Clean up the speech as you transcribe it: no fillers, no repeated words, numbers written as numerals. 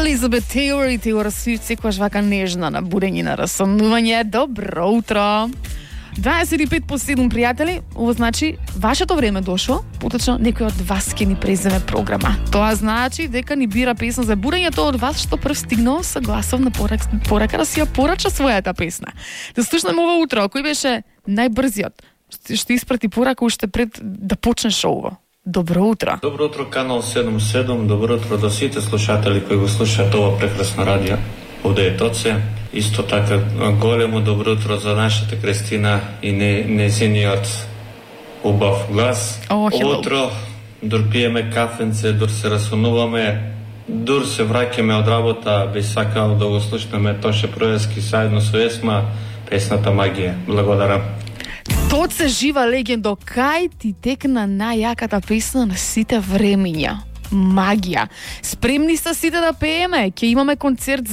Елизабет Тейлор и Тейлор Свифт секогаш вака нежна на будење на расонување. Добро утро. 25 по 7, пријатели, ова значи вашето време дошло, поточно некој од вас ќе ни преземе програма. Тоа значи дека ни бира песна за будење, тоа од вас што прв стигнал со гласовна порака да си ја порача својата песна. Да слушнеме ова утро, кој беше најбрзиот што испрати порака уште пред да почне шоуво. Добро утро. Добро утро, Канал 77, добро утро до сите слушатели кои го слушаат ова прекрасно радио. Овде е Тоце. Исто така големо добро утро за нашата Кристина и незиниот убав глас. Утро, дур пиеме кафенце, дур се расунуваме, дур се враќаме од работа, би сакал да го слушнеме Тоше Проески заедно со Есма, песната Магија. Благодарам. Тоце жива легендо, кај ти текна најаката песна на сите времиња? Магија. Спремни са сите да пееме, ќе имаме концерт